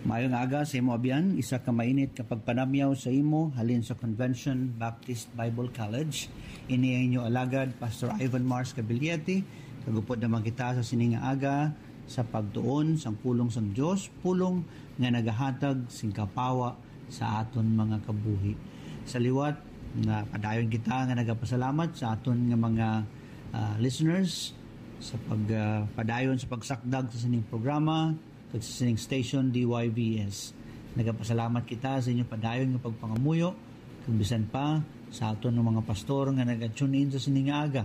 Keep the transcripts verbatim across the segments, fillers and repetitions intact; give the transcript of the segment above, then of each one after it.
Maayong aga sa imo, Abyan. Isa ka mainit ka pagpanamyaw sa imo halin sa Convention Baptist Bible College. Ini ang inyo alagad, Pastor Ivan Mars Cabiliete. Kagupod naman kita sa sining nga aga sa pagtuon sang pulong sang Dios, pulong nga nagahatag sing kapawa sa aton mga kabuhi. Sa liwat, nga padayon kita nga nagapasalamat sa aton nga mga, ah, listeners sa pag, ah, padayon sa pagsakdag sa sining programa kag sa sining station, D Y V S. Nagapasalamat kita sa inyo padayon nga pagpangamuyo, kag bisan pa sa aton nga mga pastor nga naga-tune in sa sining nga aga.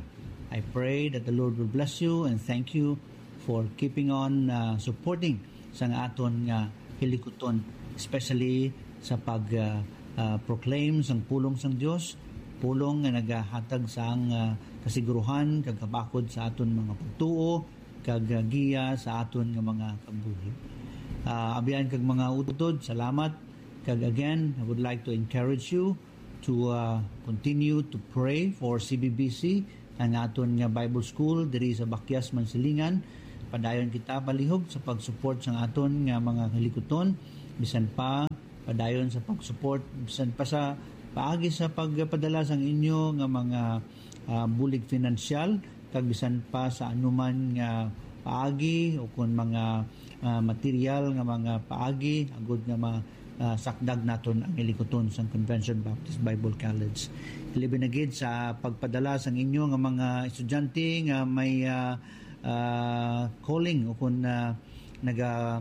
I pray that the Lord will bless you, and thank you for keeping on, uh, supporting sang aton nga hilikuton, especially sa pag, uh, uh, proclaim sang pulong sang Dios, pulong nga nagahatag sang, uh, kasiguruhan kag kabakod sa aton mga pagtuo, kag, uh, giya sa aton nga mga kabuhi. Uh, Abyan kag mga utod, salamat. Kag again, I would like to encourage you to, uh, continue to pray for C B B C, ang aton nga Bible School diri sa Bakyas, Mansilingan. Padayon kita palihog sa pag-support sang aton nga mga hilikuton, bisan pa padayon sa pag-support, bisan pa sa paagi sa pagpadala sang inyo nga mga, ah, bulig finansyal, kag bisan pa sa anuman nga paagi o kon mga, ah, material nga mga paagi, agud nga ma-, ah, sakdag naton ang hilikuton sang Convention Baptist Bible College. Labi na gid sa pagpadala sang inyo nga mga estudyante nga may, ah, ah, calling o kon, ah, naga,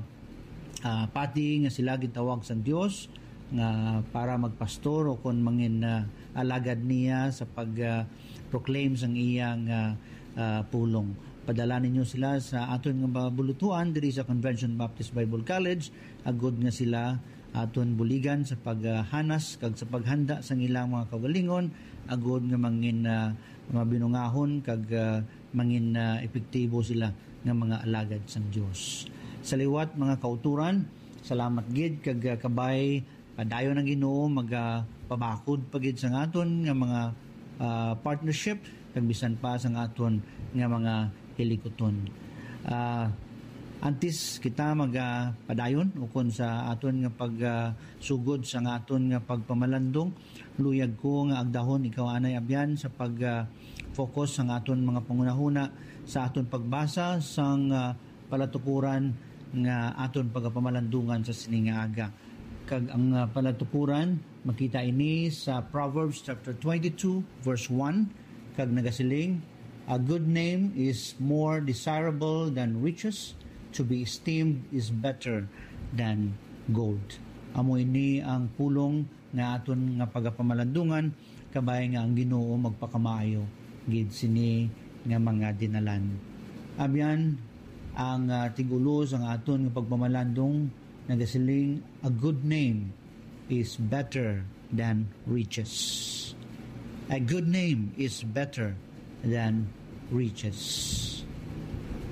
ah, pati nga sila gintawag sang Dios nga para magpastor o kon mangin, ah, alagad niya sa pag, ah, proclaim sang iyang, ah, ah, pulong. Padala ninyo sila sa aton nga mga bulutuan diri sa Convention Baptist Bible College, agud nga sila aton buligan sa paghanas kag sa paghanda sang ilang mga kaugalingon, agud nga mangin, ah, mabinungahon kag, ah, mangin, ah, epektibo sila nga mga alagad sang Dios. Sa liwat, mga kauturan, salamat gid kag, ah, kabay padayon ang Ginoo magapabakod pa gid sang aton nga mga, ah, partnership kag bisan pa sang aton nga mga hilikuton. Ah, antes kita magapadayon ukon sa aton nga pag, ah, sugod sang aton nga pagpamalandong, luyag ko nga agdahon ikaw anay, Abyan, sa pag, ah, focus sang aton mga panghunahuna sa aton pagbasa sang, ah, palatukuran nga aton pagapamalandungan sa sini nga aga. Kag ang, ah, palatukuran, makita ini sa Proverbs chapter twenty-two, verse one, kag nagasiling, "A good name is more desirable than riches; to be esteemed is better than gold." Amo ini ang pulong nga aton nga pagapamalandungan, kabay nga ang Ginoo magpakamaayo gid sini nga mga dinalan. Abyan, ang, ah, tig-ulo sang aton nga pagpamalandong nagasiling, "A good name is better than riches." A good name is better than riches.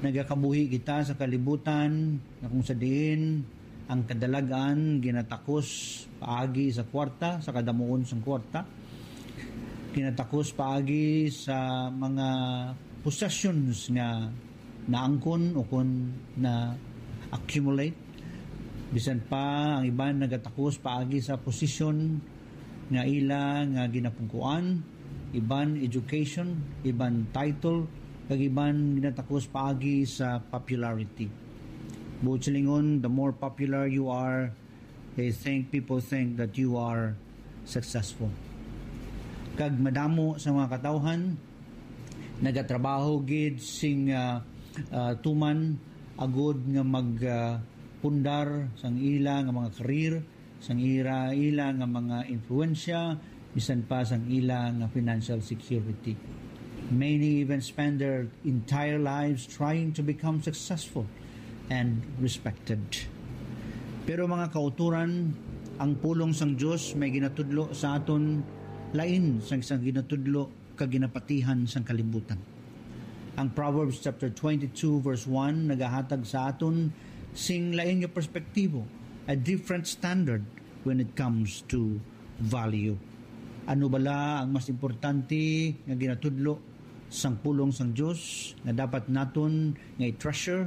Nagakabuhi kita sa kalibutan nga kung sa diin ang kadalag-an ginatakos paagi sa kwarta, sa kadamuon sang kwarta. Ginatakos paagi sa mga possessions nga naangkon o kon na-accumulate. Bisan pa ang iban nagatakos paagi sa posisyon nga ila nga ginapungkuan, iban education, iban title, kag iban ginatakos paagi sa popularity. Buot silingon, the more popular you are, they think, people think that you are successful. Kag madamo sa mga katawhan nagatrabaho gid sing, ah, ah, tuman agud nga mag, ah, pundar sang ila nga mga karir, sang ira, ila nga mga influensya, bisan pa sang ila nga financial security. Many even spend their entire lives trying to become successful and respected. Pero, mga kauturan, ang pulong sang Dios may ginatudlo sa aton lain sang, sang ginatudlo kag ginapatihan sang kalibutan. Ang Proverbs chapter twenty-two, verse one nagahatag sa aton sing lain nga perspektibo, a different standard when it comes to value. Ano bala ang mas importante nga ginatudlo sang pulong sang Dios nga dapat naton nga i-treasure,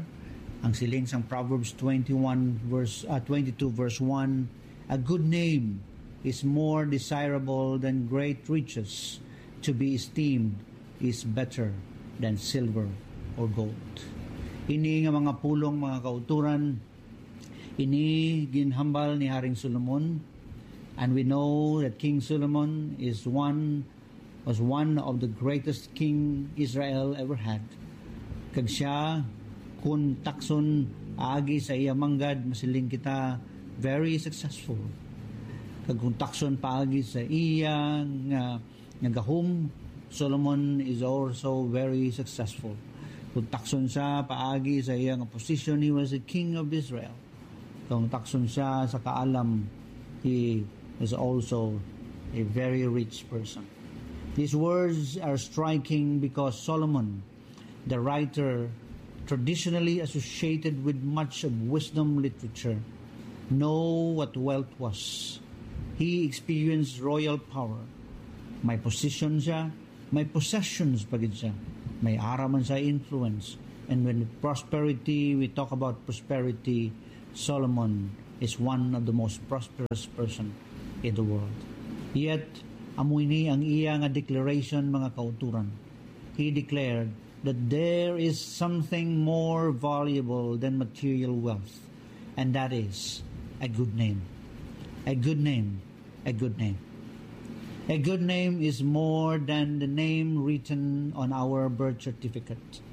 Ang siling sang Proverbs twenty-one verse, ah, twenty-two verse one, "A good name is more desirable than great riches. To be esteemed is better than silver or gold." Ini nga mga pulong, mga kauturan, ini ginhambal ni Haring Solomon, and we know that King Solomon is one was one of the greatest king Israel ever had. Kag siya, kung takson paagi sa iya manggad, masiling kita, very successful. Kag kung takson paagi sa iya nga, nga gahom, Solomon is also very successful. Kung takson siya paagi sa iya nga position, he was a king of Israel. Kung takson siya sa kaalam, he is also a very rich person. These words are striking because Solomon, the writer traditionally associated with much of wisdom literature, know what wealth was. He experienced royal power. May position siya, may possessions pa gid siya. May ara man sa influence. And when prosperity, we talk about prosperity, Solomon is one of the most prosperous person in the world. Yet, amo ini ang iya nga declaration, mga kauturan. He declared that there is something more valuable than material wealth, and that is a good name. A good name. A good name. A good name is more than the name written on our birth certificate.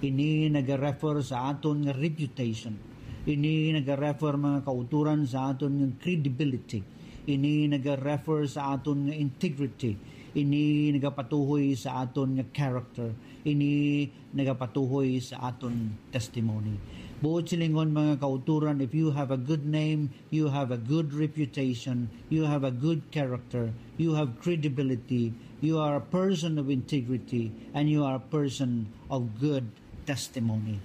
Ini nagarefer sa aton nga reputation. Ini nagarefer, mga kauturan, sa aton nga credibility. Ini nagarefer sa aton nga integrity. Ini nagapatuhoy sa aton nga character. Ini nagapatuhoy sa aton testimony. Buot silingon, mga kauturan, if you have a good name, you have a good reputation, you have a good character, you have credibility, you are a person of integrity, and you are a person of good testimony.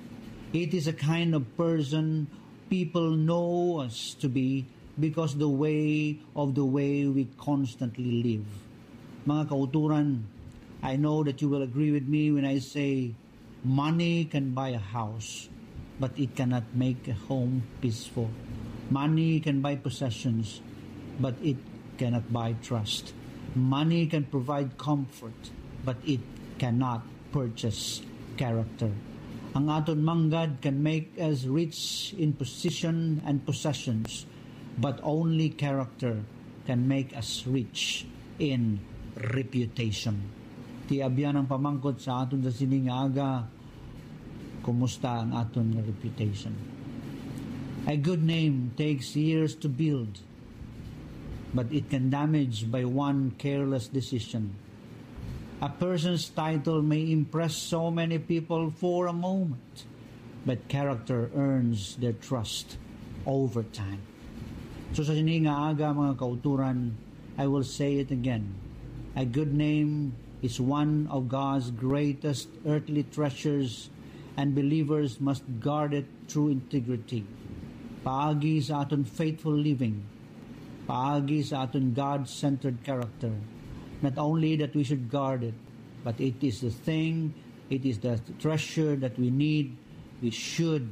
It is a kind of person people know us to be because the way of the way we constantly live. Mga kauturan, I know that you will agree with me when I say money can buy a house, but it cannot make a home peaceful. Money can buy possessions, but it cannot buy trust. Money can provide comfort, but it cannot purchase character. Ang aton manggad can make us rich in position and possessions, but only character can make us rich in reputation. Ti abyan ang pamangkot sa aton sa sini nga aga, kumusta ang aton nga reputation? A good name takes years to build, but it can damage by one careless decision. A person's title may impress so many people for a moment, but character earns their trust over time. So sa sini nga aga, mga kauturan, I will say it again. A good name is one of God's greatest earthly treasures, and believers must guard it through integrity. Paagi sa aton faithful living, paagi sa aton God-centered character, not only that we should guard it, but it is the thing, it is the treasure that we need, we should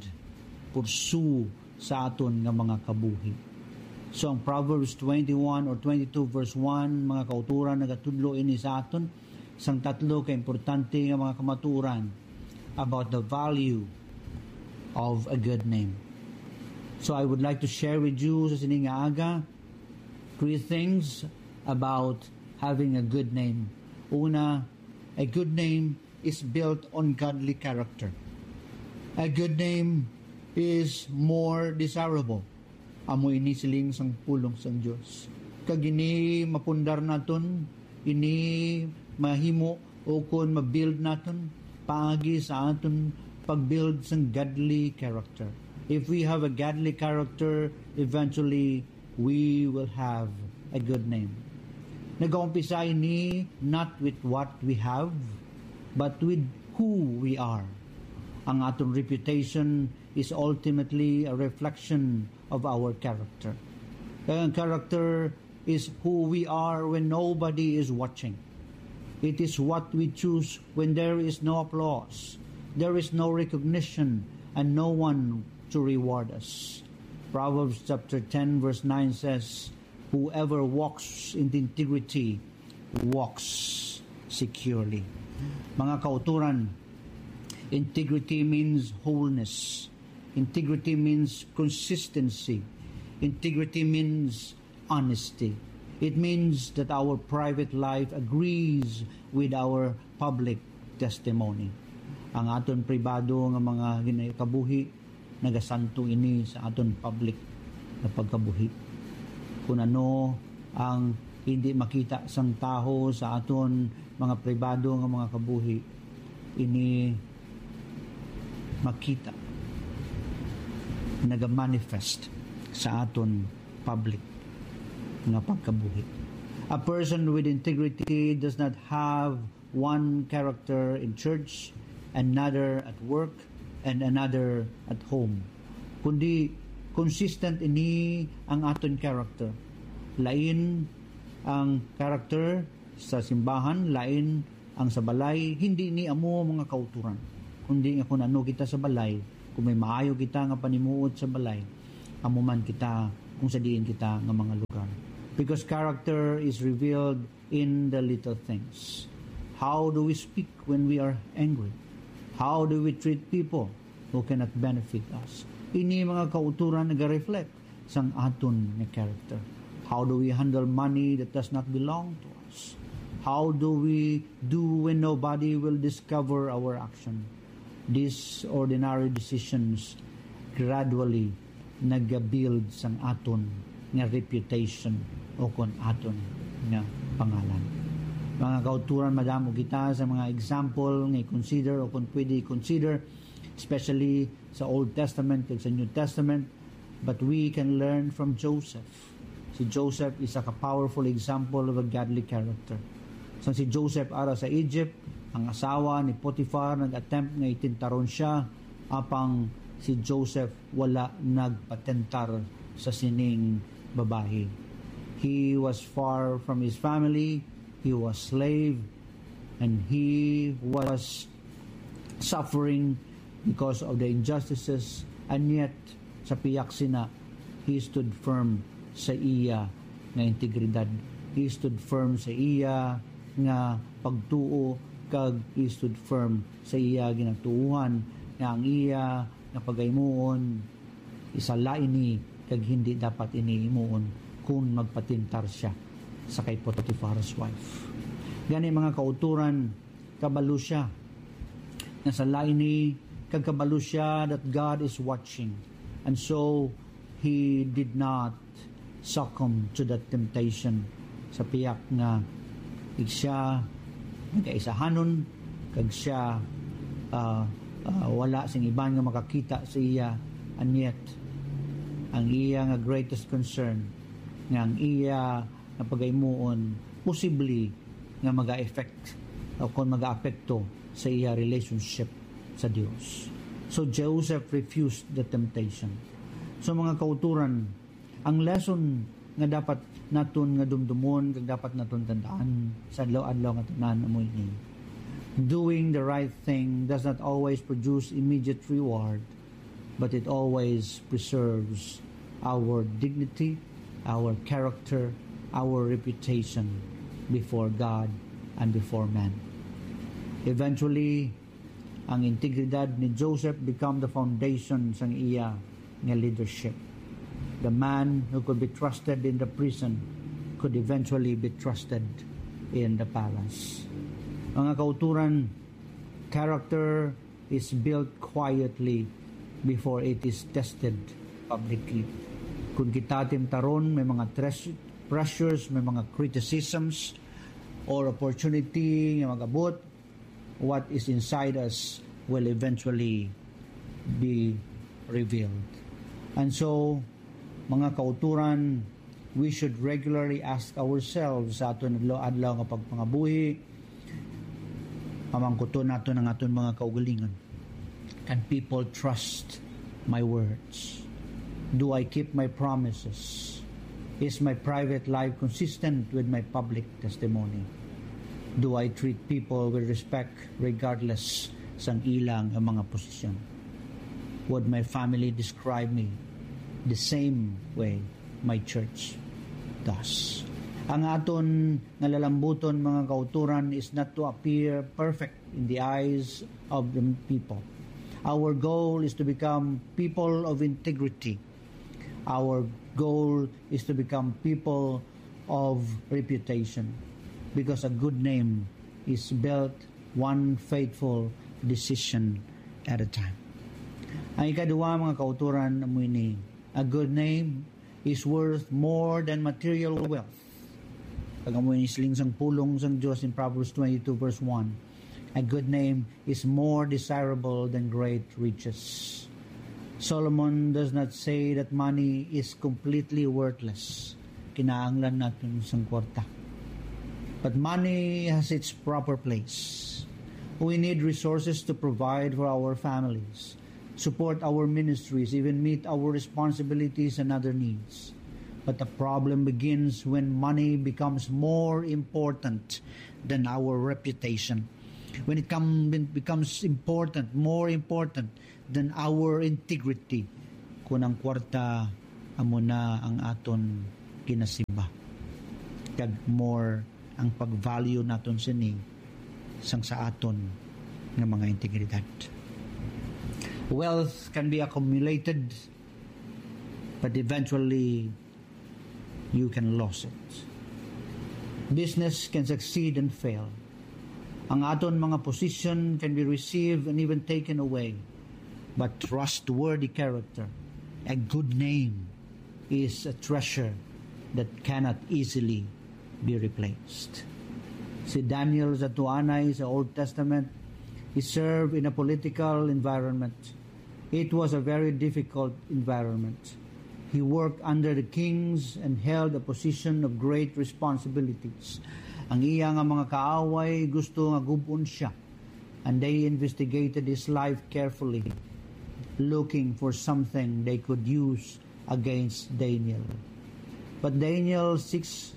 pursue sa aton nga mga kabuhi. So ang Proverbs twenty-one or twenty-two verse one, mga kauturan, nagatudlo ini sa aton sang tatlo ka importante nga mga kamaturan about the value of a good name. So I would like to share with you sa sini nga aga three things about having a good name. Una, a good name is built on godly character. A good name is more desirable. Amo ini siling sang pulong sang Dios. Kag ini mapundar naton, ini mahimo ukon mabuild naton paagi sa aton pagbuild sang godly character. If we have a godly character, eventually we will have a good name. Nagaumpisa ini not with what we have, but with who we are. Ang aton reputation is ultimately a reflection of our character. Kaya ang character is who we are when nobody is watching. It is what we choose when there is no applause, there is no recognition, and no one to reward us. Proverbs chapter ten verse nine says, "Whoever walks in integrity walks securely." Mga kauturan, integrity means wholeness. Integrity means consistency. Integrity means honesty. It means that our private life agrees with our public testimony. Ang aton pribado nga mga ginakabuhi nagasanto ini sa aton public nga pagkabuhi. Kung ano ang hindi makita sang tawo sa aton mga pribado nga mga kabuhi, ini makita, nagamanifest sa aton public nga pagkabuhi. A person with integrity does not have one character in church, another at work, and another at home. Kundi consistent ini ang aton character. Lain ang character sa simbahan, lain ang sa balay. Hindi ni amo mga kauturan, kundi nga kung ano kita sa balay, kung may maayo kita nga panimuot sa balay, amo man kita kung sa diin kita nga mga lugar. Because character is revealed in the little things. How do we speak when we are angry? How do we treat people who cannot benefit us? Ini mga kauturan naga-reflect sang aton nga character. How do we handle money that does not belong to us? How do we do when nobody will discover our action? These ordinary decisions gradually nagabuild sang aton nga reputation o kon aton nga pangalan. Mga kauturan, madamo kita sa mga example nga i-consider o kon pwede i-consider, especially sa Old Testament kag sa New Testament, but we can learn from Joseph. Si Joseph is a powerful example of a godly character. Sang si Joseph ara sa Egypt, ang asawa ni Potiphar nag-attempt nga itintaron siya, apang si Joseph wala nagpatentar sa sining babayi. He was far from his family, he was slave, and he was suffering because of the injustices, and yet, sa piyak sina, he stood firm sa iya nga integridad. He stood firm sa iya nga pagtuo, kag he stood firm sa iya ginatuohan nga ang iya nga pagaymuon, isa la ini kag hindi dapat ini himuon kun magpatintar sia sa kay Potiphar's wife. Gani, mga kauturan, kabalo sia nga sala ini, kag kabalo sia that God is watching. And so, he did not succumb to that temptation. Sa piyak nga, ig siya nagaisahanon, kag siya, ah, ah, wala sing iban nga makakita sa iya, and yet, ang iya nga greatest concern, nga ang iya nga pagaymuon, posible nga maga-effect o kon maga-apekto sa iya relationship sa Dios. So, Joseph refused the temptation. So, mga kauturan, ang lesson nga dapat naton nga dumdumon kag dapat naton tandaan sa adlaw-adlaw nga tanan amo ini: doing the right thing does not always produce immediate reward, but it always preserves our dignity, our character, our reputation before God and before men. Eventually, ang integridad ni Joseph become the foundation sang iya nga leadership. The man who could be trusted in the prison could eventually be trusted in the palace. Mga kauturan, character is built quietly before it is tested publicly. Kung kita timtaron, may mga tres-, pressures, may mga criticisms, or opportunity nga mag-abot, what is inside us will eventually be revealed. And so, mga kauturan, we should regularly ask ourselves sa aton adlaw-adlaw nga pagpangabuhi, pamangkuton naton ang aton mga kaugalingon. Can people trust my words? Do I keep my promises? Is my private life consistent with my public testimony? Do I treat people with respect regardless sang ilang mga posisyon? Would my family describe me the same way my church does? Ang aton nga lalambuton, mga kauturan, is not to appear perfect in the eyes of the people. Our goal is to become people of integrity. Our goal is to become people of reputation, because a good name is built one faithful decision at a time. Ang ikaduha, mga kauturan, amo ini: a good name is worth more than material wealth. Kag amo ini siling sang pulong sang Dios in Proverbs twenty-two verse one: "A good name is more desirable than great riches." Solomon does not say that money is completely worthless. Kinahanglan naton sang kwarta. But money has its proper place. We need resources to provide for our families, support our ministries, even meet our responsibilities and other needs. But the problem begins when money becomes more important than our reputation. When it come, becomes important, more important than our integrity, kun ang kwarta amo na ang aton ginasimba, kag more ang pag-value naton sini sang sa aton nga mga integridad. Wealth can be accumulated, but eventually you can lose it. Business can succeed and fail. Ang aton mga position can be received and even taken away. But trustworthy character, a good name, is a treasure that cannot easily be replaced. Si Daniel sa Tuanay sa Old Testament, he served in a political environment. It was a very difficult environment. He worked under the kings and held a position of great responsibilities. Ang iya nga mga kaaway gusto nga gub-on siya, and they investigated his life carefully, looking for something they could use against Daniel. But Daniel six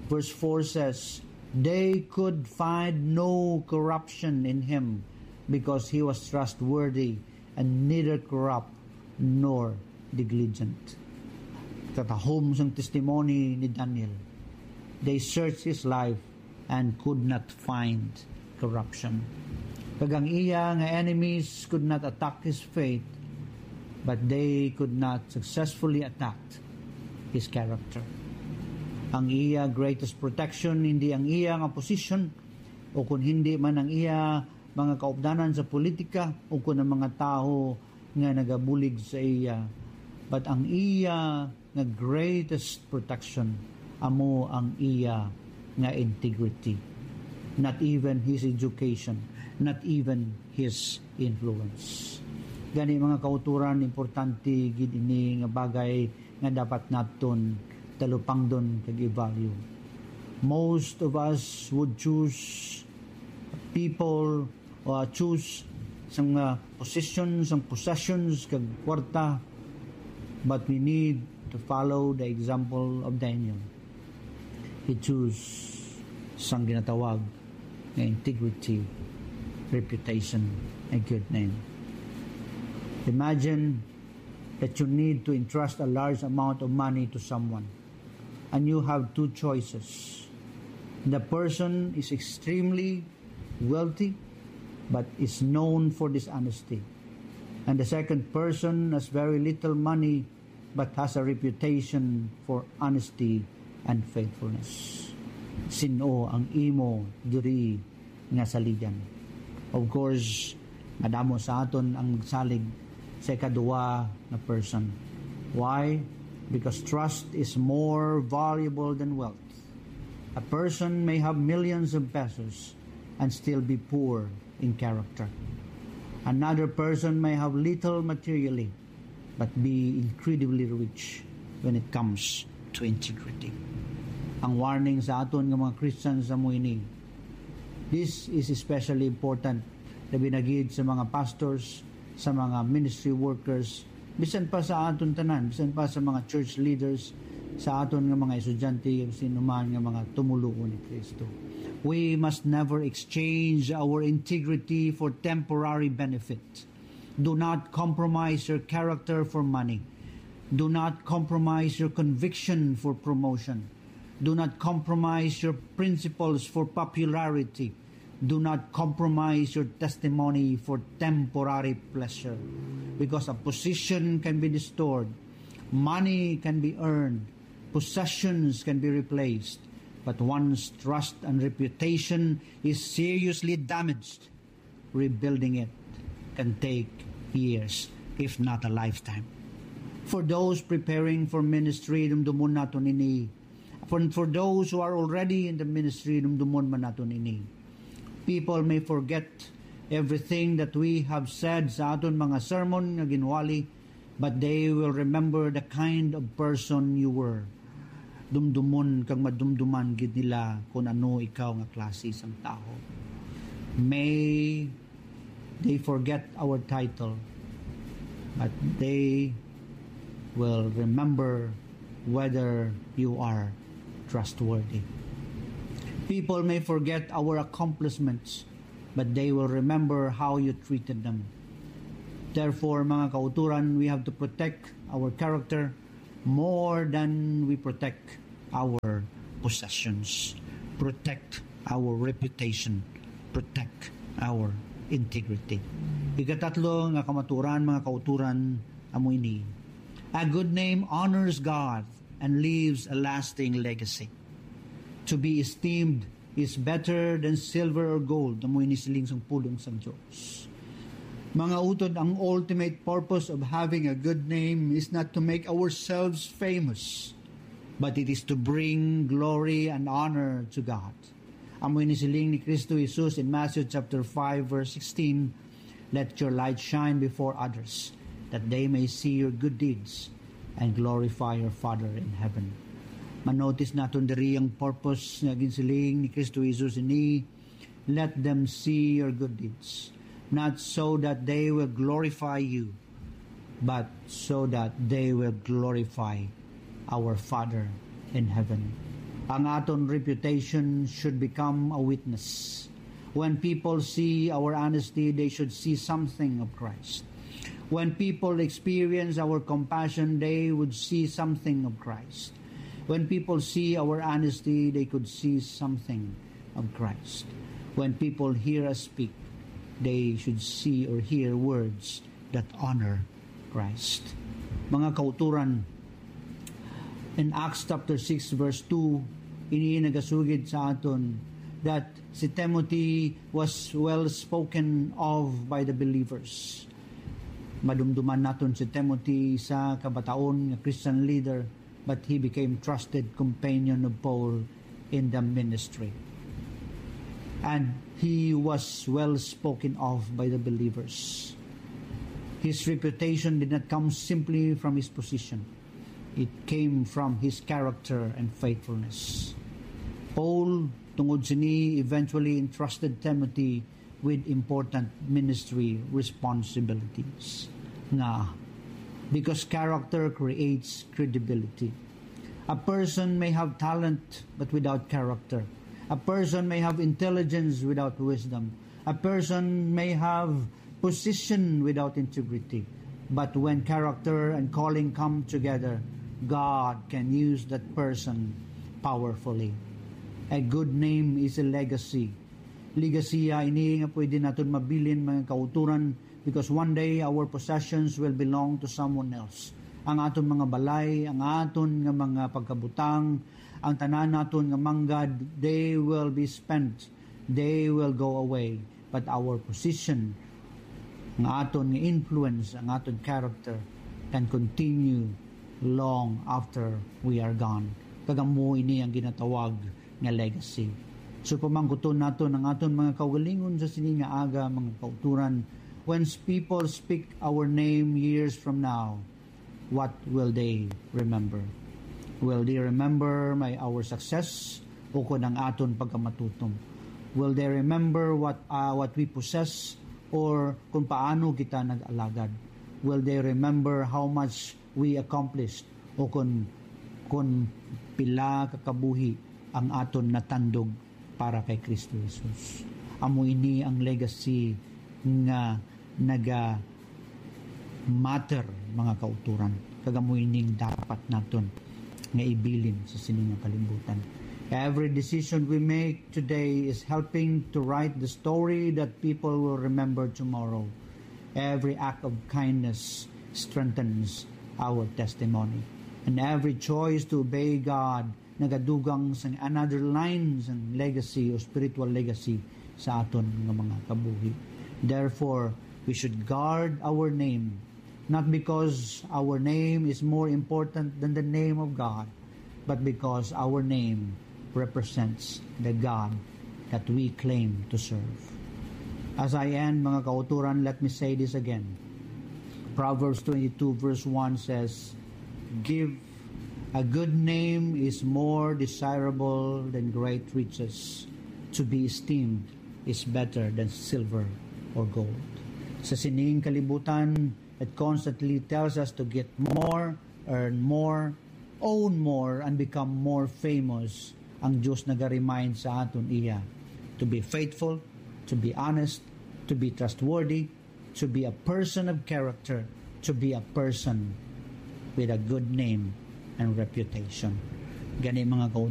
verse four says, "They could find no corruption in him, because he was trustworthy and neither corrupt nor negligent." Katahom sang testimony ni Daniel, they searched his life and could not find corruption. Kag ang iya nga enemies could not attack his faith, but they could not successfully attack his character. Ang iya greatest protection hindi ang iya nga posisyon, o kun hindi man ang iya mga kaupdanan sa politika, o kun ang mga tawo nga nagabulig sa iya, but ang iya nga greatest protection amo ang iya nga integrity. Not even his education, not even his influence. Gani, mga kauturan, importante gid ini nga bagay nga dapat naton talupangdon kag i-value. Most of us would choose people, uh, choose sang, uh, position, sang possessions kag kwarta, but we need to follow the example of Daniel. He choose sang ginatawag nga integrity, reputation, and good name. Imagine that you need to entrust a large amount of money to someone, and you have two choices. The person is extremely wealthy but is known for dishonesty, and the second person has very little money but has a reputation for honesty and faithfulness. Sin-o ang imo diri nga saligan? Of course, madamo sa aton ang magsalig sa ikaduha nga person. Why? Because trust is more valuable than wealth. A person may have millions of pesos and still be poor in character. Another person may have little materially but be incredibly rich when it comes to integrity. Ang warning sa aton nga mga Christians sa mo ini. This is especially important, labi na gid sa mga pastors, sa mga ministry workers, bisan pa sa aton tanan, bisan pa sa mga church leaders, sa aton nga mga estudyante, ug sinuman nga mga tumoluo ni Kristo. We must never exchange our integrity for temporary benefit. Do not compromise your character for money. Do not compromise your conviction for promotion. Do not compromise your principles for popularity. Do not compromise your testimony for temporary pleasure. Because a position can be restored, money can be earned, possessions can be replaced, but once trust and reputation is seriously damaged, rebuilding it can take years, if not a lifetime. For those preparing for ministry, dumdumon naton ini. For, for those who are already in the ministry, dumdumon man naton ini. People may forget everything that we have said sa aton mga sermon nga ginwali, but they will remember the kind of person you were. Dumdumon kag madumduman gid nila kung ano ikaw nga klase sang tawo. May they forget our title, but they will remember whether you are trustworthy. People may forget our accomplishments, but they will remember how you treated them. Therefore, mga kauturan, we have to protect our character more than we protect our possessions. Protect our reputation. Protect our integrity. Ikatatlo nga kamaturan, mga kauturan, amo ini. A good name honors God and leaves a lasting legacy. To be esteemed is better than silver or gold. Amo ini siling sang pulong sang Dios. Mga utod, ang ultimate purpose of having a good name is not to make ourselves famous, but it is to bring glory and honor to God. Amo ini siling ni Kristo Jesus in Matthew chapter five, verse sixteen, "Let your light shine before others, that they may see your good deeds and glorify your Father in heaven." Manotis naton diri ang purpose nga ginsiling ni Kristo Jesus ini, "Let them see your good deeds, not so that they will glorify you, but so that they will glorify our Father in heaven." Ang aton reputation should become a witness. When people see our honesty, they should see something of Christ. When people experience our compassion, they would see something of Christ. When people see our honesty, they could see something of Christ. When people hear us speak, they should see or hear words that honor Christ. Mga kauturan, in Acts chapter six, verse two, ini nagasugid sa aton that si Timothy was well spoken of by the believers. Madumduman naton si Timothy, isa ka bataon nga Christian leader, but he became trusted companion of Paul in the ministry. And he was well spoken of by the believers. His reputation did not come simply from his position. It came from his character and faithfulness. Paul, tungod sini, eventually entrusted Timothy with important ministry responsibilities. Nga, because character creates credibility. A person may have talent but without character. A person may have intelligence without wisdom. A person may have position without integrity. But when character and calling come together, God can use that person powerfully. A good name is a legacy. Legacy ini nga pwede naton mabilin, mga kauturan, because one day our possessions will belong to someone else. Ang aton mga balay, ang aton nga mga pagkabutang, ang tanan naton nga manggad, they will be spent, they will go away. But our position, ang aton nga influence, ang aton character can continue long after we are gone. Kag amo ini ang ginatawag nga legacy. So, pamangkuton naton ang aton mga kaugalingon sa sini nga aga, mga kauturan. When people speak our name years from now, what will they remember? Will they remember my, our success, o kon ang aton pagkamatutom? Will they remember what, uh, what we possess, or kung paano kita nag-alagad? Will they remember how much we accomplished, o kon, kon pila ka kabuhi ang aton natandog para kay Kristo Jesus? Amo ini ang legacy nga naga matter, mga kauturan, kag amo ining dapat naton nga ibilin sa sini nga kalibutan. Every decision we make today is helping to write the story that people will remember tomorrow. Every act of kindness strengthens our testimony. And every choice to obey God nagadugang sang another line sang legacy o spiritual legacy sa aton nga mga kabuhi. Therefore, we should guard our name, not because our name is more important than the name of God, but because our name represents the God that we claim to serve. As I end, mga kauturan, let me say this again. Proverbs twenty-two verse one says, "Give a good name is more desirable than great riches. To be esteemed is better than silver or gold." Sa sining kalibutan, it constantly tells us to get more, earn more, own more, and become more famous. Ang Diyos nag-remind sa aton iya to be faithful, to be honest, to be trustworthy, to be a person of character, to be a person with a good name and reputation. Gani, mga kauturan,